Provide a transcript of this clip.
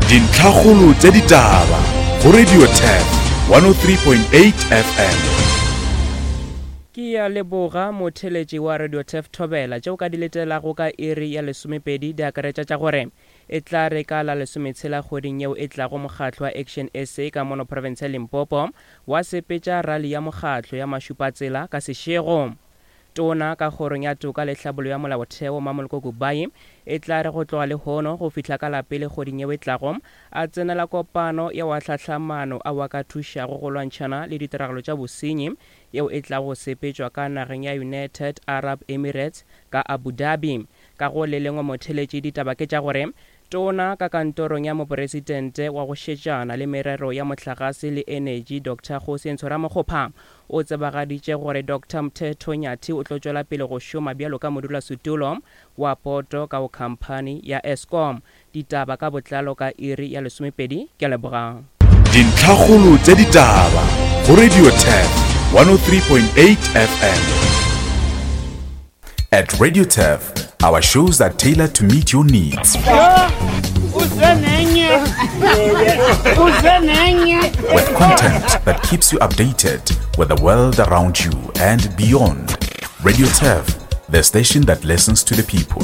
Dintlhakgolo tša ditaba go Radio Turf 103.8 FM. Ke a leboga motheeletši wa Radio Turf Thobela. Tše o ka di letelago ka iri ya lesomepedi di akaretša tša gore e tla re ka la lesometshela kgweding yeo e tlago mokgatlo wa Action SA ka mono profense ya Limpopo wa sepetša rali ya mokgatlo ya mašupatsela ka sešego. Tona ka Kgorong ya Toka le Tlhabollo ya Molaotheo, Mamoloko Kubayi, e tla re go tloga lehono go fihla ka la pele kgweding yeo e tlago, a tsenela kopano ya wa tlhahlamano ao a ka thušago go lwantšhana le ditiragalo tša bosenyi yeo e tlago go sepetšwa ka nageng ya United Arab Emirates ka Abu Dhabi. Ka go le lengwe motheeletši ditaba ke tša gore Tona ka kantorong ya Moporesitente wa go šetšana le merero ya mohlagase le enetši Doctor Kgosientsho Ramokgopa o tsebagaditše gore Doctor Mthetho Nyathi o tlo tšwela pele go šoma bjalo ka modulasetulo wa poto ka go khamphani ya Eskom. Ditaba ka botlalo ka iri ya lesomepedi. Ke a leboga. Dintlhakgolo tša ditaba go Radio Turf 103.8 FM. At Radio Turf, our shows are tailored to meet your needs. With content that keeps you updated with the world around you and beyond. Radio Turf, the station that listens to the people.